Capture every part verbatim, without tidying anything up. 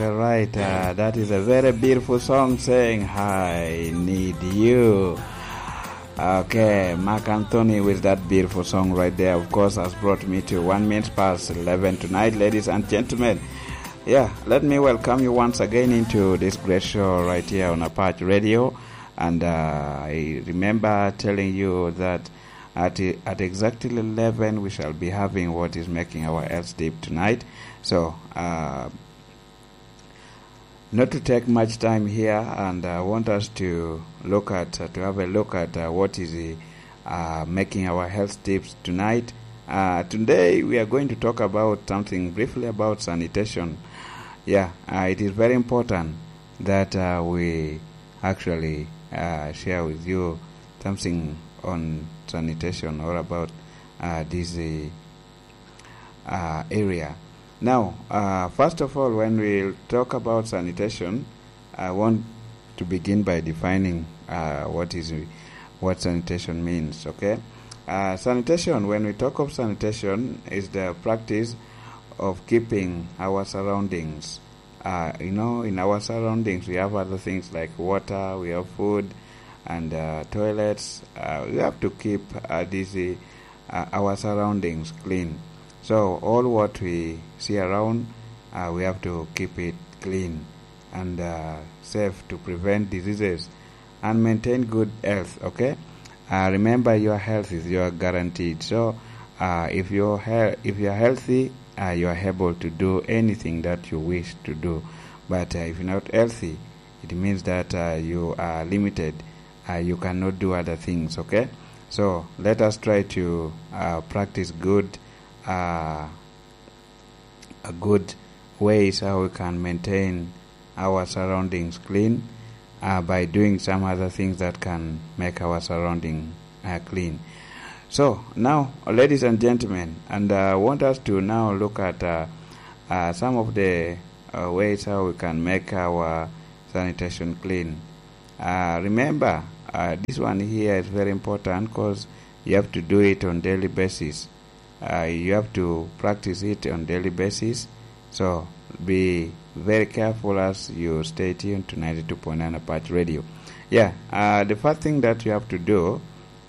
All right, uh, that is a very beautiful song saying, "I need you." Okay, Mark Anthony with that beautiful song right there, of course, has brought me to one minute past eleven tonight, ladies and gentlemen. Yeah, let me welcome you once again into this great show right here on Apache Radio. And uh, I remember telling you that at, at exactly eleven, we shall be having what is making our health tip tonight. So, uh, not to take much time here, and I want us to look at, uh, to have a look at uh, what is uh, making our health tips tonight. Uh, today, we are going to talk about something briefly about sanitation. Yeah, uh, it is very important that uh, we actually uh, share with you something on sanitation or about uh, this uh, uh, area. Now, uh, first of all, when we talk about sanitation, I want to begin by defining uh, what is what sanitation means. Okay, uh, sanitation. When we talk of sanitation, is the practice of keeping our surroundings. Uh, you know, in our surroundings, we have other things like water, we have food, and uh, toilets. Uh, we have to keep uh, these uh, our surroundings clean. So all what we see around, uh, we have to keep it clean and uh, safe to prevent diseases and maintain good health. Okay, uh, remember, your health is your guaranteed. So uh, if you're he- if you're healthy, uh, you are able to do anything that you wish to do. But uh, if you're not healthy, it means that uh, you are limited. Uh, you cannot do other things. Okay, so let us try to uh, practice good uh, a good ways how we can maintain our surroundings clean uh, by doing some other things that can make our surrounding uh, clean. So now, ladies and gentlemen, and uh, I want us to now look at uh, uh, some of the uh, ways how we can make our sanitation clean. Uh, remember, uh, this one here is very important because you have to do it on daily basis. Uh, you have to practice it on daily basis. So be very careful as you stay tuned to ninety-two point nine Apache Radio. Yeah, uh, the first thing that you have to do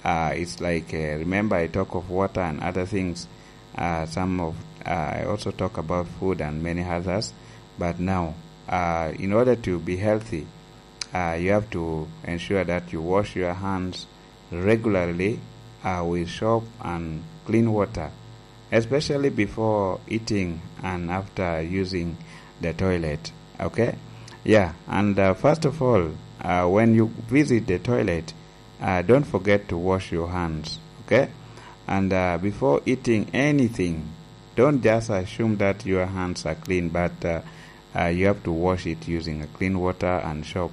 uh, is like, uh, remember, I talk of water and other things. Uh, some of uh, I also talk about food and many others. But now, uh, in order to be healthy, uh, you have to ensure that you wash your hands regularly uh, with soap and clean water, especially before eating and after using the toilet. Okay? Yeah, and uh, first of all, uh, when you visit the toilet, uh, don't forget to wash your hands. Okay? And uh, before eating anything, don't just assume that your hands are clean, but uh, uh, you have to wash it using a clean water and soap.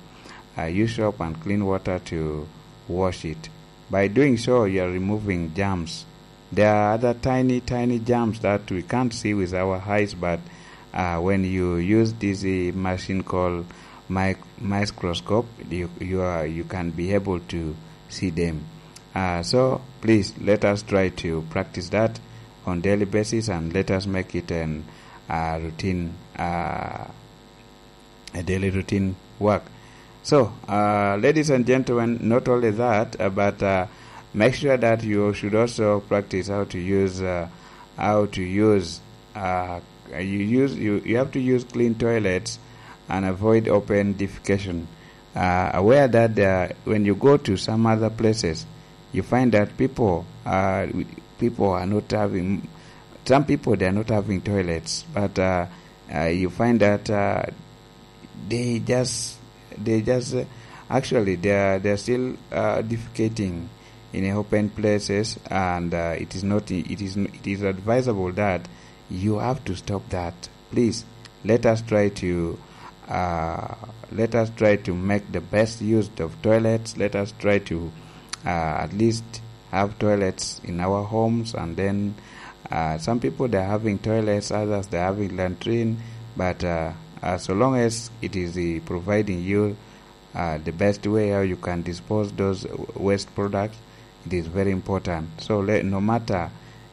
Uh, use soap and clean water to wash it. By doing so, you are removing germs. There are other tiny, tiny germs that we can't see with our eyes, but uh, when you use this uh, machine called mic- microscope, you, you, are, you can be able to see them. Uh, so please let us try to practice that on daily basis, and let us make it an uh, routine, uh, a daily routine work. So, uh, ladies and gentlemen, not only that, uh, but uh, make sure that you should also practice how to use uh, how to use uh, you use you, you have to use clean toilets and avoid open defecation. Uh, aware that uh, when you go to some other places, you find that people uh, people are not having some people, they are not having toilets, but uh, uh, you find that uh, they just they just uh, actually they are they are still uh, defecating in open places, and uh, it is not it is it is advisable that you have to stop that. Please, let us try to uh, let us try to make the best use of toilets. Let us try to uh, at least have toilets in our homes, and then uh, some people, they're having toilets, others, they're having latrine, but uh, uh, so long as it is uh, providing you uh, the best way how you can dispose those waste products, it is very important. So let, no matter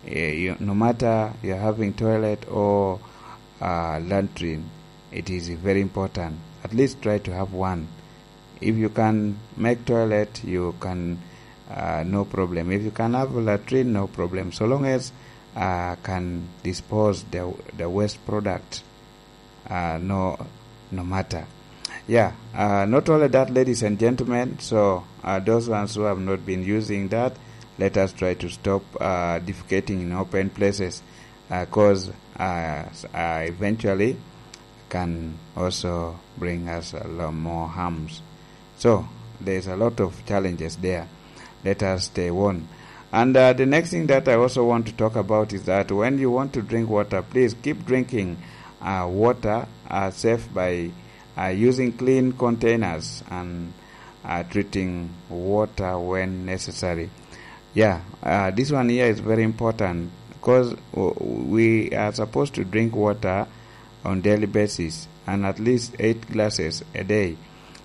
uh, you, no matter you're having toilet or uh, latrine, it is very important. At least try to have one. If you can make toilet, you can, uh, no problem. If you can have a latrine, no problem. So long as, uh, can dispose the, the waste product, uh, no, no matter. Yeah, uh, not only that, ladies and gentlemen, so, uh, those ones who have not been using that, let us try to stop, uh, defecating in open places, because, uh, s-, uh, eventually can also bring us a lot more harms. So there's a lot of challenges there. Let us stay warned. And, uh, the next thing that I also want to talk about is that when you want to drink water, please keep drinking, uh, water, uh, safe by, uh, using clean containers and, uh, treating water when necessary. Yeah, uh, this one here is very important because we are supposed to drink water on daily basis and at least eight glasses a day.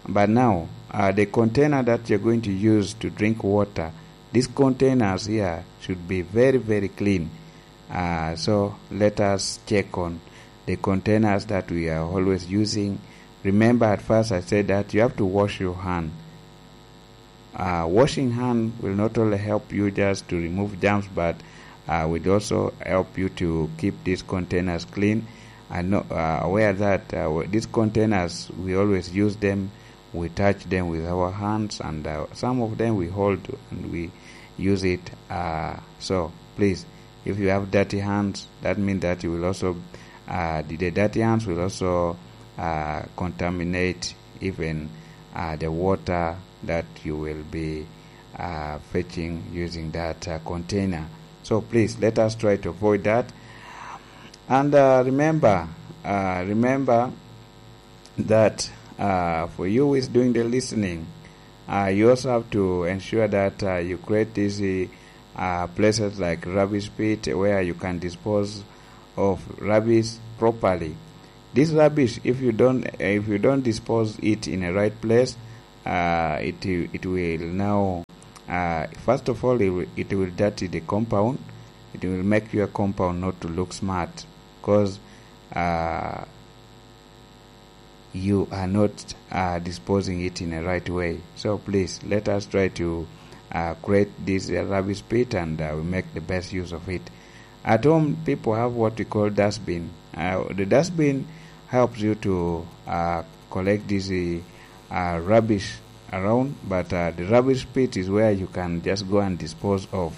But now, uh, the container that you're going to use to drink water, these containers here should be very, very clean. Uh, so let us check on the containers that we are always using. Remember, at first I said that you have to wash your hand. Uh, washing hand will not only help you just to remove germs, but, uh, will also help you to keep these containers clean. I know, uh, aware that, uh, w-, these containers, we always use them, we touch them with our hands, and, uh, some of them we hold and we use it. Uh, so please, if you have dirty hands, that means that you will also, uh, the, the dirty hands will also, uh, contaminate even, uh, the water that you will be, uh, fetching using that, uh, container. So please, let us try to avoid that. And, uh, remember, uh, remember that, uh, for you who is doing the listening, uh, you also have to ensure that, uh, you create these, uh, places like rubbish pit where you can dispose of rubbish properly. This rubbish, if you don't, if you don't dispose it in a right place, uh, it, it will now, uh, first of all, it will, it will dirty the compound. It will make your compound not to look smart because, uh, you are not, uh, disposing it in a right way. So please, let us try to, uh, create this, uh, rubbish pit, and, uh, we make the best use of it. At home, people have what we call dustbin. Uh, the dustbin helps you to, uh, collect this, uh, rubbish around, but, uh, the rubbish pit is where you can just go and dispose of,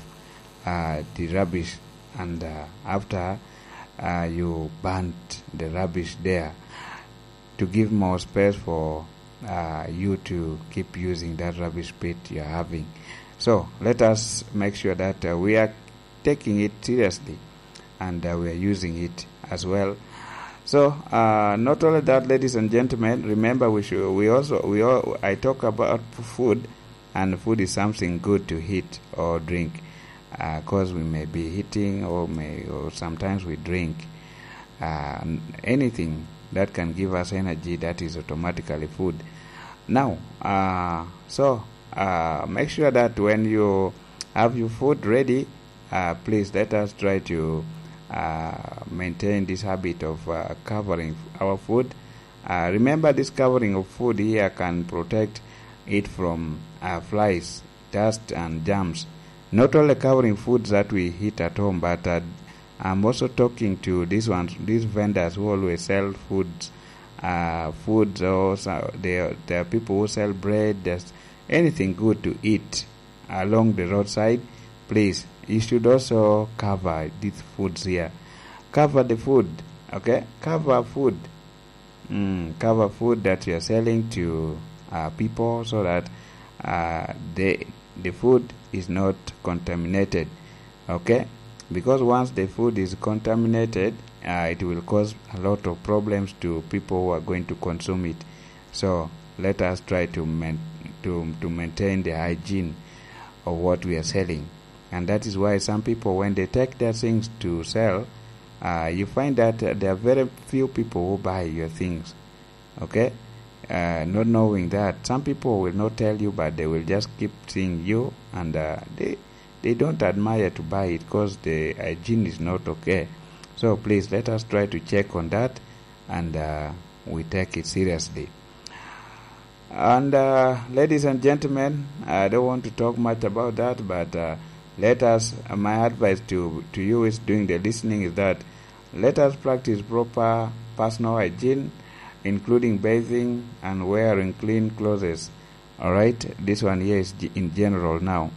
uh, the rubbish, and, uh, after, uh, you burnt the rubbish there to give more space for, uh, you to keep using that rubbish pit you're having. So let us make sure that, uh, we are taking it seriously and, uh, we are using it as well. So, uh, not only that, ladies and gentlemen, remember we should, we also, we all, I talk about food, and food is something good to eat or drink, because we may be eating or may, or sometimes we drink, uh, n-, anything that can give us energy, that is automatically food. Now, uh, so, uh, make sure that when you have your food ready, uh, please let us try to, uh, maintain this habit of, uh, covering our food. Uh, remember, this covering of food here can protect it from, uh, flies, dust, and germs. Not only covering foods that we eat at home, but, uh, I'm also talking to these ones, these vendors who always sell foods, uh, foods, or so, there, there are people who sell bread, there's anything good to eat along the roadside. Please, you should also cover these foods here. Cover the food, okay? Cover food. Mm, cover food that you are selling to, uh, people, so that, uh, the, the food is not contaminated, okay? Because once the food is contaminated, uh, it will cause a lot of problems to people who are going to consume it. So let us try to main-, to, to maintain the hygiene of what we are selling. And that is why some people, when they take their things to sell, uh, you find that, uh, there are very few people who buy your things, okay? Uh, not knowing that, some people will not tell you, but they will just keep seeing you, and, uh, they, they don't admire to buy it because the hygiene is not okay. So please, let us try to check on that, and, uh, we take it seriously. And uh, ladies and gentlemen, I don't want to talk much about that, but uh, let us, uh, my advice to, to you is doing the listening is that let us practice proper personal hygiene, including bathing and wearing clean clothes. All right, this one here is g- in general now.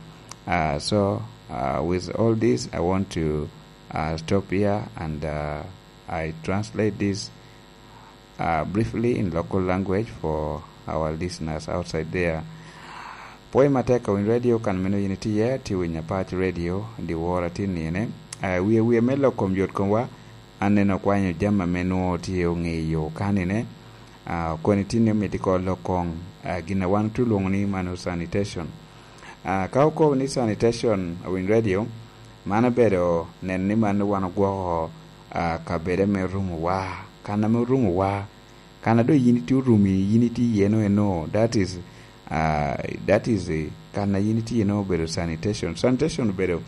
Uh, so, uh, with all this, I want to uh, stop here and uh, I translate this uh, briefly in local language for our listeners outside there. Pwoc matek ka winy radio kan meno yin itye, tye winyo apac radio, di wora tye nine. Uh, wie wie me lok kom yot komwa, an neno kwanyo jami ame nwo tye oŋe i yo kanine. Uh, koni tye ni omito ko lok kong, uh, gin a wan tu lwongo ni mano sanitation. Uh, ka okobo ni sanitation, winy radio, man obedo neno ni man wan ogwoko uh, kabede me rumo wa, kan ame orumo wa, kan a doŋ yin itye orumi, yin itye iye no eno, that is, uh, that is eh, kan a yin itye iye no obedo sanitation. Sanitation obedo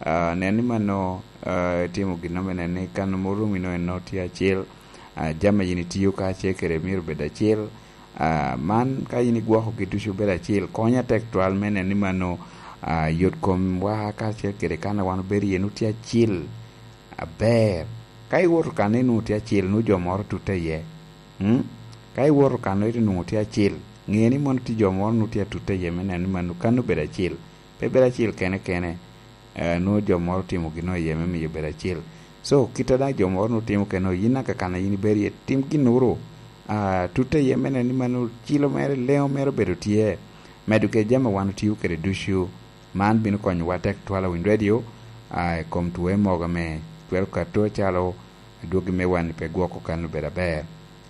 uh, nen ni mano uh, timo gin ame nen ni kan ame orumi no eno tye acel, uh, jami a yin itiyo kacel kede myero obed acel. Uh, man ka yin igwokogi ducu obedo acel, konya tek twal me nen ni mano uh, yot kom wa kacel kede kan a wan obedo iye nu tye acel aber. Ka iwoto kan ni nu tye acel nu jo moro tutte iye. Mm? Ka iwoto kan ite nwoŋo tye acel, ŋe ni mono tye jo moro nu tye atutte iye me neno ni mano kan obedo acel. Pe bedo acel kene kene, eh, nwoŋo jo moro timo gino iye me miyo bedo acel. So, kit a daŋ jo moro nu timo kene, yin naka kan a yin ibedo iye, tim ginnoro, ah, tutte iye me neno ni mano cilo mere, leŋo mere obedo tye. Medo kede jami a wan otio kede ducu, man bino konyowa tek twal a Winy Radio, ah, i kom twoe mogo ame twero kato calo adwogi me wan pe gwoko kan obedo aber.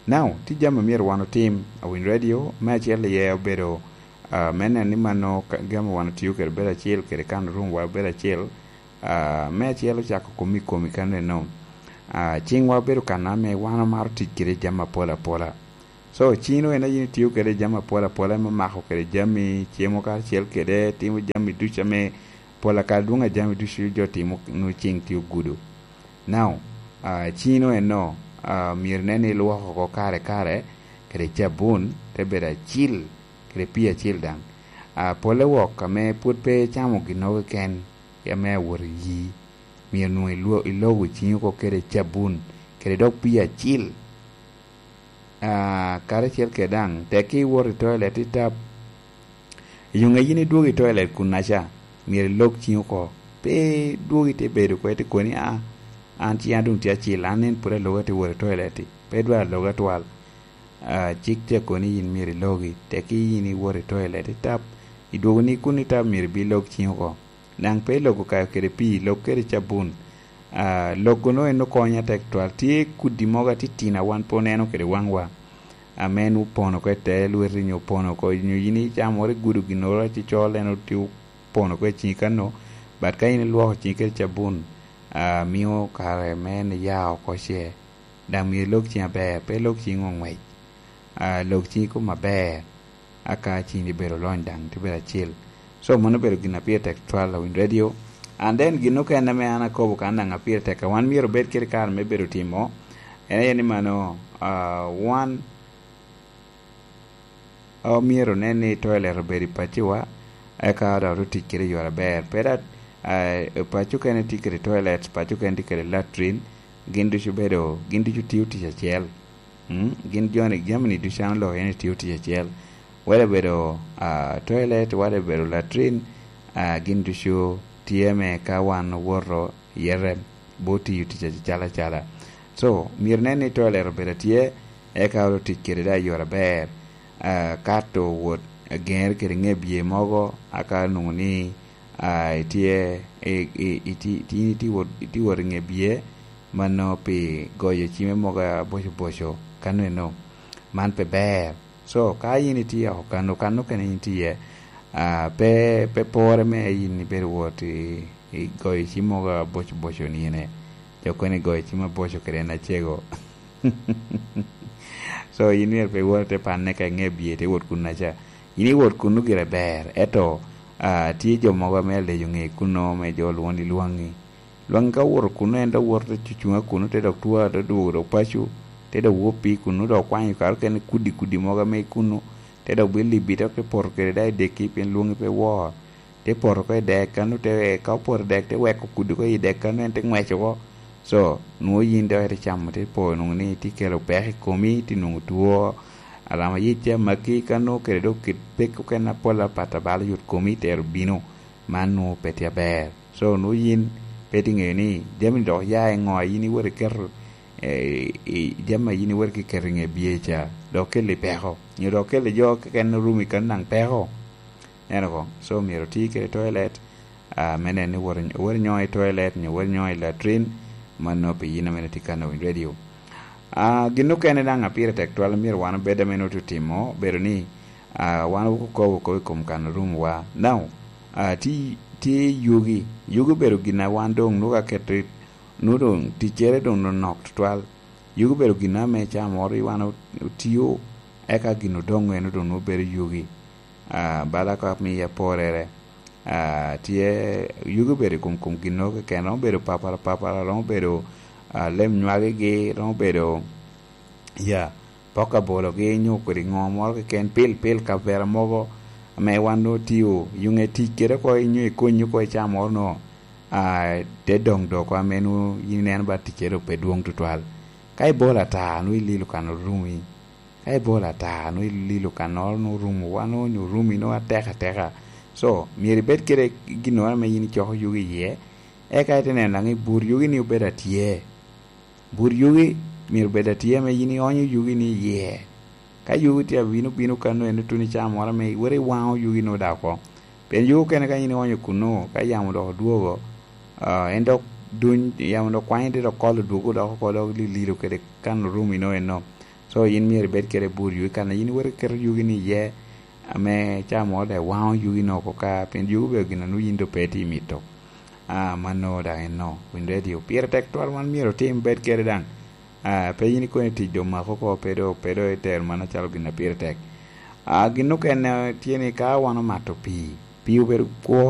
Now, tye jami a myero wan otim, a Winy Radio, me acel iye obedo, ah, me neno ni mano ka-, jami wan otio kede obedo acel, kede kan room wa obedo acel, ah, me acel ocako komi komi kan eno. Ah, ciŋwa obedo kan ame wan omaro tic kede jami apol apola. So, ciŋ en aye itio kede jami apol apola, me mako kede jami, cemo karacel kede, timo jami ducu ame pol akal dwoŋ a jami ducu jo timo nu ciŋ tye ogudo. Now, ah, ciŋ eno, ah, myero inen ni ilwoko oko kare kare kede cabun, te bedo acil kede pii acil daŋ. Ah, pole wok ame pwod pe icamo ginnogo keken, ame awot i yii, myero nwoŋo ilwo-, ilogo ciŋi oko kede cabun, kede dok pii acil. Ah, karacel kede daŋ, tek iwoto i toilet itap, i yoŋe yin idwogo i toilet kunnaca, myero ilog ciŋi oko. Pe idwogo ite bedo oko, ite koni, "Ah, an ciŋa doŋ tye acil, an en pwod aloga ite wot i toilet-ti, pe dwar aloga twal." Ah, cik te koni yin myero ilogi, tek yin iwoto i toilet itap, idwogo ni kun itap myero ibi ilog ciŋi oko. Daŋ pe iloko kayo kede pii, lok kede cabun. Ah, lok-gu no en okonya tek twal. Tye kudi mogo atitino a wan pe oneno kede waŋwa, ame en opono oko i te lweti nyo opono oko, nyo yin icamo woro igudo ginnoro aci col, en otye opono oko i ciŋi kano, but ka in ilwoko ciŋi kede cabun, ah, mio kare me en iya oko ce. Daŋ myero ilok ciŋi aber, pe ilok ciŋi oŋwec. Ah, lok ciŋi kom aber, aka ciŋi bedo olony daŋ, tye bedo acil. So, mano obedo gin a pire tek twal, a Winy Radio. And then, gin okene ame an akobo kan daŋ a pire tek, a wan myero obed kede kare me bedo timo, en aye ni mano, ah, wan omyero onen ni toilet obedo i pacowa, eka dok otic kede i yore aber. Pe da, ah, paco okene tye kede toilet, paco okene tye kede latrine, gin ducu bedo, gin ducu tio tic acel. Mm? Gin joni, jami-ni ducu an oloko en tio tic acel. Wede obedo, ah, toilet, wede obedo latrine, ah, gin ducu tye me ka wan owoto i yete, bo tiyo tic acel acala. So, myero nen ni toilet obedo atye, eka otic kede da i yore aber. Ah, kato wot ageŋere kede ŋe bye mogo, aka nwoŋo ni, ah, itye, i, i, iti-, iti-, itye wot, itye wot i ŋe bye, mano pi goyo cime mogo aboco boco, kano eno. Man pe ber. So, ka yin itye oko kano, kano kene yin itye, ah, pe, pe pore me yin ibedo wot i, i goyo cim mogo aboco boco nine. Jo kono igoyo cim aboco kede en acego. So, yin myero pe iwot ite panne ka iŋe bye, ite wot kunnaca. Yin iwot kunnu gire ber, eto, ah, tye jo mogo ame alejo ŋe kunno, me jo olwoŋo ni lwaŋi. Lwaŋi ka owoto kunnu, en dok woto te cucuŋ a kunnu, te dok twa, te dwogo dok paco, te Te dok wop i kunnu, dok okwanyo kare okene kudi kudi mogo ame i kunnu, te dok bilo i bito, te poto kede daŋ i deki pien lwoŋi pe wor. Te poto oko i dek kano, te, ka opoto i dek, te weko kudi oko i dek kano, en te ŋwec oko. So, nwoŋo yin dok ite camo, te po nwoŋo ni tye kelo peko i komi, tye nwoŋo two, alama yic te maki kano, kede dok kit peko okene apol apat a balo yot komi tero bino. Man nwoŋo pe tye aber. So, nwoŋo yin pe tye ŋeyo ni jami dok ya i ŋo a yin iwot iketo, eh, i jami a yin iwot iketo i ŋe bye ca, dok kelli peko, nyo dok kelli jo keken orumi kano daŋ peko. Eno ko, so myero oti kede toilet, ah, me neno ni wot, wot inyo i toilet, nyo wot inyo i latrine, mano pi yin ame tye kano winy radio. Ah, gin okene daŋ a pire tek twal myero wan obed ame nwoŋo otimo, bedo ni, ah, wan okobo kop i kom kano rumwa. Now, ah, ti-, tye yugi. Yugi obedo gin a wan doŋ nwoŋo aketo i, nwoŋo doŋ ticcere doŋ nonok tutwal. Yugi obedo gin ame ca moro i wan o-, otio, eka gin odoŋ eno doŋ nwoŋo bedo yugi. Ah, bala ka miya porere. Ah, tye yugi obedo i kom, kom gin nwoŋo keken, romo bedo papara papara, romo bedo, ah, lem nywagigi, romo bedo, ya, pok abologi, nyo kodi ŋo moro keken, pil, pil kavera mogo ame wan nwoŋo tio, yuŋe tic kede oko, inyo ikony oko i caa moro nwoŋo, ah, te doŋ doko ame nwoŋo yin ineno ba ticce dok pe dwoŋ tutwal. Ka ibolo ata, nwoŋo ililo kan orumi. Ka ibolo ata, nwoŋo ililo kannoro nwoŋo orumo, wan nwoŋo onyo orumi nwoŋo atek ateka. So, myero ibed kede ginnoro ame yin icoko yugi iye, eka ite neno daŋ i bur yugi ni obed atye. Bur yugi myero obed atye ame yin ionyo yugi ni iye. Ka yugi tye abino bino kano en otuno i caa moro ame iwot iwaŋo yugi nwoŋo daŋ oko. Pien yugi okene ka yin ionyo kunno, ka yamo dok odwogo, ah, en dok duny, yamo dok kwanyo te dok kolo dwogo dok oko, dok lililo kede kan orumi nwoŋo eno. So, yin myero ibed kede bur yugi, kan a yin iwot iketo yugi ni iye, ame caa moro daŋ iwaŋo yugi nwoŋo oko ka, pien yugi obedo gin a nwoŋo yin doŋ pe itye mito. Ah, mano daŋ eno, winy radio. Pire tek twal man myero otim bed kede daŋ. Ah, pe yin ikoni tic doŋ mako oko, pe doŋ, pe doŋ itero mano acalo gin a pire tek. Ah, gin okene tye ni ka wan omato pii, pii obedo kwo